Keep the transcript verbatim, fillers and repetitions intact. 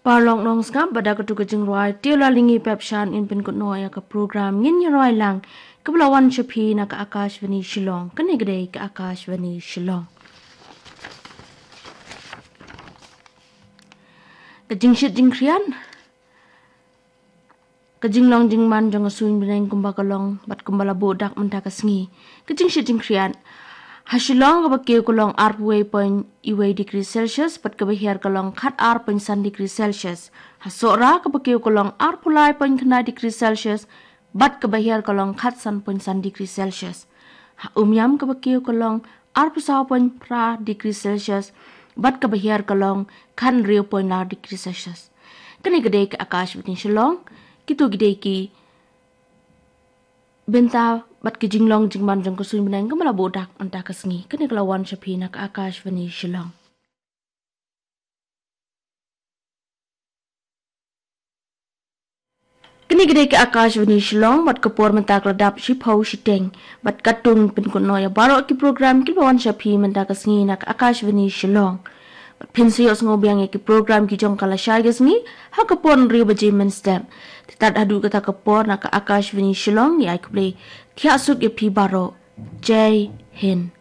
Paralok nongsngap, bad da katu ka jingrwai Teo Lalyngi Pepshan yn pynkut noh ïa ka program Ngin Ïarwai Lang, kaba la wan sha phi na ka Akashvani Shillong. Kane ka dei ka Akashvani Shillong. Ka jingshit jingkhriat, ka jinglong jingman jong ka suiñ bneng kumba ka long bad kumba la buh dak mynta ka sngi. Ka jingshit jingkhriat ha Shillong, kaba kiew ka long arphew wei point wei degree Celsius, bad kaba hiar ka long khat ar point san degree Celsius. Ha Sohra, kaba kiew ka long arphew lai point khyndai degree Celsius, bad kaba hiar ka long khat san point san degree Celsius. Ha Umiam, kaba kiew ka long arphew saw point phra degree Celsius, bad kaba hiar ka long khat hynriew point lai degree Celsius. Kane ka dei ka Akashvani Shillong. Kito ki dei ki bynta bad ki jinglong jingman jong ka suiñ bneng kaba la buh dak mynta ka sngi. Kane ka la wan sha phi na ka Akashvani Shillong. Kane ka dei ka Akashvani Shillong, bad ka por mynta ka la dap shiphew shiteng, bad katto ngan pynkut noh ïa baroh ki program kiba wan sha phi mynta ka sngi na ka Akashvani Shillong. Bad phin sa ïohsngew biang ïa ki program ki jong ka lashai ka sngi ha ka por hynriew baje mynstep. Te tad haduh kata ka por, na ka Akashvani Shillong, ngi ai khublei thiah suk ïa phi baroh. Jai Hind.